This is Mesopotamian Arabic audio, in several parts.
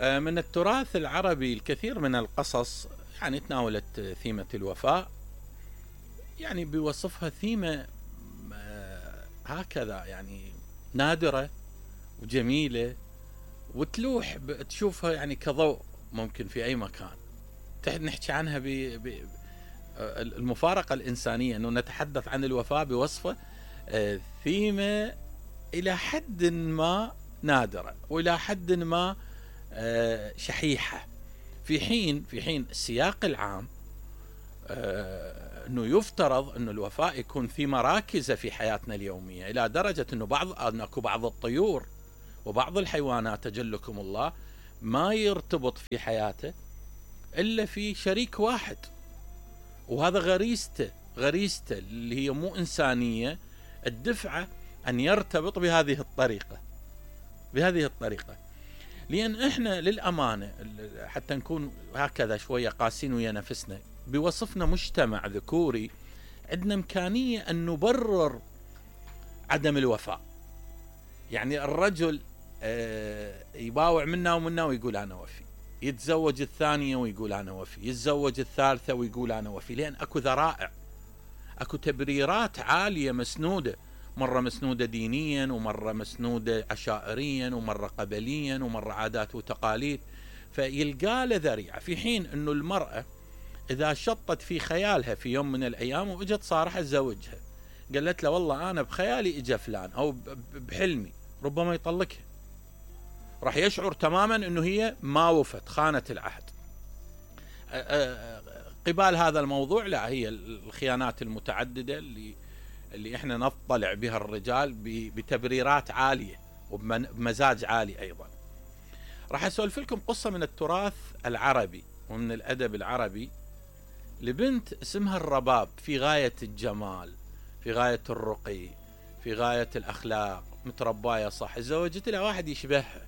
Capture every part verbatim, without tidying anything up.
من التراث العربي الكثير من القصص يعني تناولت ثيمة الوفاء، يعني بيوصفها ثيمة هكذا يعني نادرة وجميلة وتلوح تشوفها يعني كضوء ممكن في أي مكان. نحكي عنها بالمفارقة الإنسانية، أنه نتحدث عن الوفاء بوصفه ثيمة إلى حد ما نادرة وإلى حد ما شحيحة، في حين في حين السياق العام أنه يفترض أن الوفاء يكون في مراكز في حياتنا اليومية، إلى درجة أنه بعض أنكو بعض الطيور وبعض الحيوانات تجلكم الله ما يرتبط في حياته إلا في شريك واحد، وهذا غريزته غريزته اللي هي مو إنسانية الدفعة أن يرتبط بهذه الطريقة بهذه الطريقة لأن إحنا للأمانة حتى نكون هكذا شوية قاسين ويا نفسنا، بوصفنا مجتمع ذكوري عندنا إمكانية أن نبرر عدم الوفاء. يعني الرجل يباوع منا ومنا ويقول أنا وفي، يتزوج الثانية ويقول أنا وفي، يتزوج الثالثة ويقول أنا وفي، لأن أكو ذرائع، أكو تبريرات عالية مسنودة، مرة مسنودة دينيا ومرة مسنودة عشائريا ومرة قبليا ومرة عادات وتقاليد، فيلقى له ذريعة. في حين أنه المرأة إذا شطت في خيالها في يوم من الأيام وإجت صارحة تزوجها، قالت له والله أنا بخيالي إجا فلان أو بحلمي، ربما يطلقها، راح يشعر تماما أنه هي ما وفت، خانت العهد. قبال هذا الموضوع لا، هي الخيانات المتعددة اللي اللي احنا نطلع بها الرجال بتبريرات عالية وبمزاج عالي أيضا. راح أسولف لكم قصة من التراث العربي ومن الأدب العربي لبنت اسمها الرباب، في غاية الجمال، في غاية الرقي، في غاية الأخلاق، مترباية صح، تزوجت لها واحد يشبهها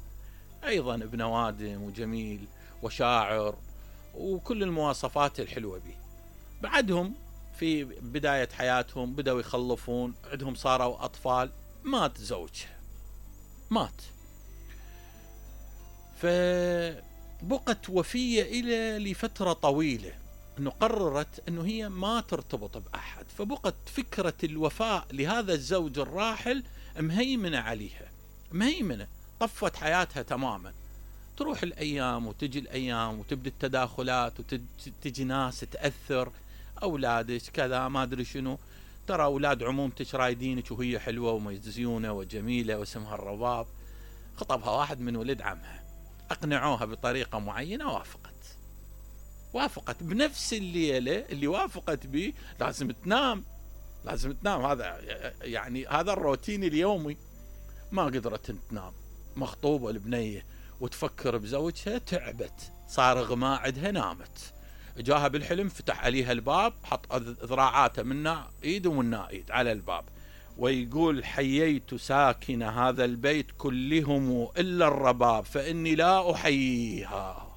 أيضا، ابن وادم وجميل وشاعر وكل المواصفات الحلوة به. بعدهم في بداية حياتهم بدأوا يخلفون، عندهم صاروا أطفال، مات زوجها، مات، فبقت وفية إلى لفترة طويلة، أنه قررت أنه هي ما ترتبط بأحد، فبقت فكرة الوفاء لهذا الزوج الراحل مهيمنة عليها، مهيمنة، طفت حياتها تماما. تروح الأيام وتجي الأيام وتبدأ التداخلات وتجي ناس تأثر، أولادك كذا ما أدري شنو، ترى أولاد عمومتك رايدينك وهي حلوة ومزيونة وجميلة واسمها الرباب. خطبها واحد من ولد عمها، أقنعوها بطريقة معينة، وافقت وافقت بنفس الليلة اللي وافقت به لازم تنام، لازم تنام، هذا يعني هذا الروتين اليومي. ما قدرت تنام، مخطوبة البنية وتفكر بزوجها، تعبت، صار غماء عندها، نامت، جاها بالحلم فتح عليها الباب، حط ذراعاته منا ايد ومنا ايد على الباب، ويقول حييت ساكن هذا البيت كلهم إلا الرباب فإني لا أحييها.